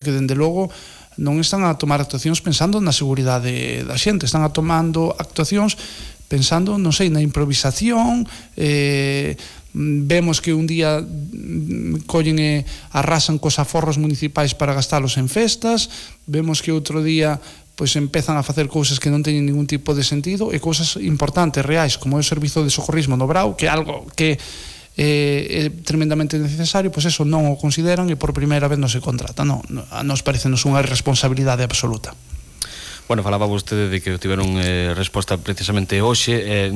que dende logo non están a tomar actuacións pensando na seguridade da xente, están a tomando actuacións pensando, non sei, na improvisación. Vemos que un día collen e arrasan cos aforros municipais para gastalos en festas, vemos que outro día pois empezan a facer cousas que non teñen ningún tipo de sentido, e cousas importantes, reais, como é o servizo de socorrismo no Brao, que é algo que é tremendamente necesario, pois eso non o consideran e por primeira vez non se contrata. A nos parecenos unha irresponsabilidade absoluta. Bueno, falaba vostede de que tiveron resposta precisamente hoxe,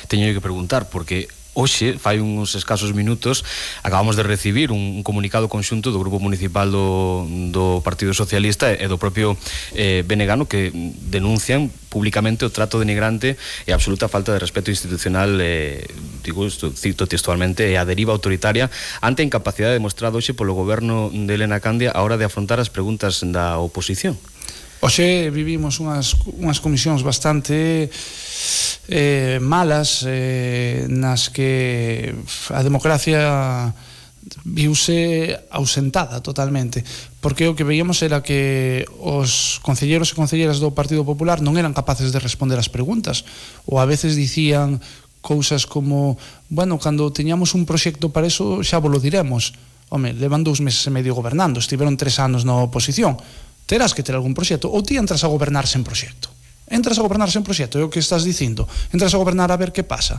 teño que preguntar, porque hoxe, fai uns escasos minutos, acabamos de recibir un comunicado conxunto do Grupo Municipal do Partido Socialista e do propio Benegano, que denuncian públicamente o trato denigrante e a absoluta falta de respeto institucional, digo, cito textualmente, e a deriva autoritaria ante a incapacidade demostrada hoxe polo goberno de Elena Candia a hora de afrontar as preguntas da oposición. Hoxe vivimos unhas comisións bastante malas, nas que a democracia viuse ausentada totalmente, porque o que veíamos era que os concelleiros e concelleiras do Partido Popular non eran capaces de responder as preguntas, ou a veces dicían cousas como, bueno, cando teñamos un proxecto para eso xa vos lo diremos. Home, levan 2 meses e medio gobernando, estiveron 3 anos na oposición, terás que ter algún proxecto, ou ti entras a gobernar sen proxecto. Entras a gobernar sen proxecto, é o que estás dicindo. Entras a gobernar a ver que pasa,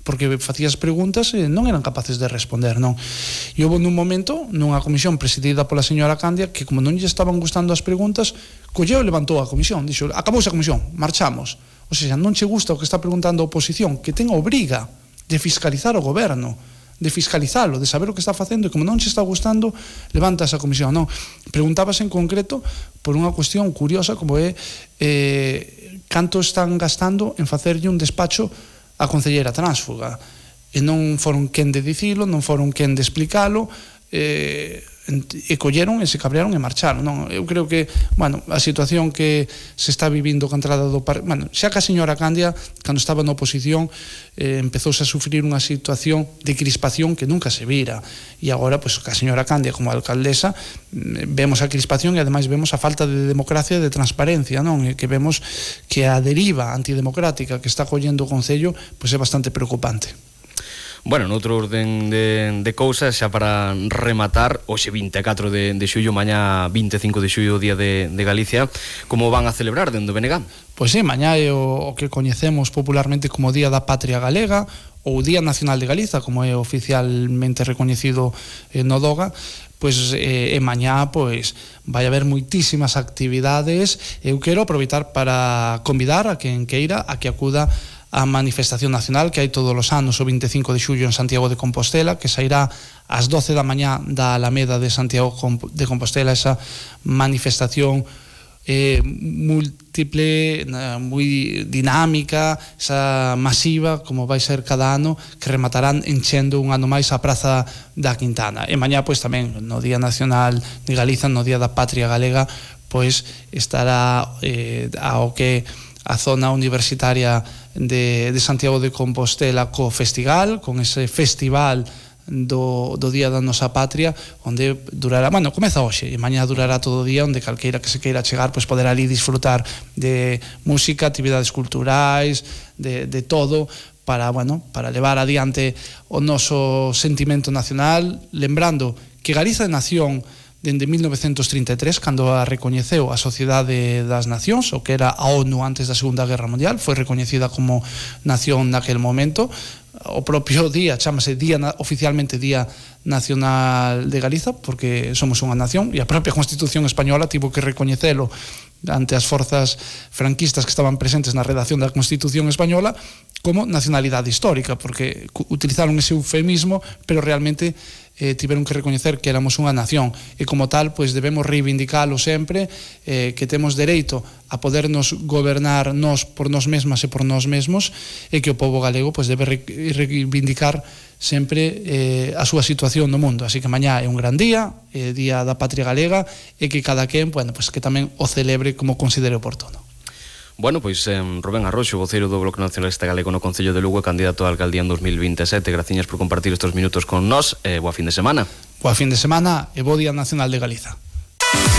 porque facías preguntas e non eran capaces de responder, non? E houve nun momento, nunha comisión presidida pola señora Candia, que como non lle estaban gustando as preguntas, colleu e levantou a comisión, dixo, acabouse a comisión, marchamos. O sea, non che gusta o que está preguntando a oposición, que ten a obriga de fiscalizar o goberno, de fiscalizalo, de saber o que está facendo, e como non che está gustando, levanta esa comisión. Non, preguntábase en concreto por unha cuestión curiosa como é canto están gastando en facerlle un despacho a concelleira tránsfuga, e non foron quen de dicilo, non foron quen de explicalo, e colleron e se cabrearon e marcharon, non? Eu creo que, bueno, a situación que se está vivindo contra do bueno, xa que a señora Candia, cando estaba na oposición, empezouse a sufrir unha situación de crispación que nunca se vira, e agora, pois, que a señora Candia como alcaldesa, vemos a crispación e ademais vemos a falta de democracia e de transparencia, non? E que vemos que a deriva antidemocrática que está collendo o Concello, pois é bastante preocupante. Bueno, noutro orden de cousas, xa para rematar, hoxe 24 de xullo, mañá 25 de xullo, Día de Galicia, como van a celebrar dentro do Benegán? Pois sí, mañá é o que coñecemos popularmente como Día da Patria Galega, ou Día Nacional de Galiza, como é oficialmente recoñecido no DOGA. Pois mañá pois vai haber moitísimas actividades. Eu quero aproveitar para convidar a quen queira a que acuda a manifestación nacional que hai todos os anos o 25 de xullo en Santiago de Compostela, que sairá ás 12 da mañá da Alameda de Santiago de Compostela, esa manifestación múltiple, moi dinámica, esa masiva, como vai ser cada ano, que rematarán enchendo un ano máis a Praza da Quintana. E mañá, pois tamén, no Día Nacional de Galiza, no Día da Patria Galega, pois estará ao que a zona universitaria de Santiago de Compostela co Festival, con ese festival do Día da Nosa Patria, onde durará, bueno, comeza hoxe e mañá durará todo o día, onde calqueira que se queira chegar pois poderá ali disfrutar de música, actividades culturais, de todo, para, bueno, para levar adiante o noso sentimento nacional, lembrando que Galiza é nación dende 1933, cando a recoñeceu a Sociedade das Nacións, o que era a ONU antes da Segunda Guerra Mundial, foi recoñecida como nación naquel momento. O propio día chámase oficialmente Día Nacional de Galiza, porque somos unha nación, e a propia Constitución española tivo que recoñecelo ante as forzas franquistas que estaban presentes na redacción da Constitución española como nacionalidade histórica, porque utilizaron ese eufemismo, pero realmente tiveron que recoñecer que éramos unha nación, e como tal, pois debemos reivindicalo sempre, que temos dereito a podernos gobernar nós por nós mesmas e por nós mesmos, e que o pobo galego pois debe reivindicar sempre a súa situación no mundo. Así que mañá é un gran día, Día da Patria Galega, e que cada quen, bueno, pois que tamén o celebre como considere oportuno. Bueno, pois Rubén Arroxo, voceiro do Bloque Nacionalista Galego no Concello de Lugo, candidato a alcaldía en 2027. Graciñas por compartir estes minutos con nós, boa fin de semana. Boa fin de semana e bo Día Nacional de Galiza.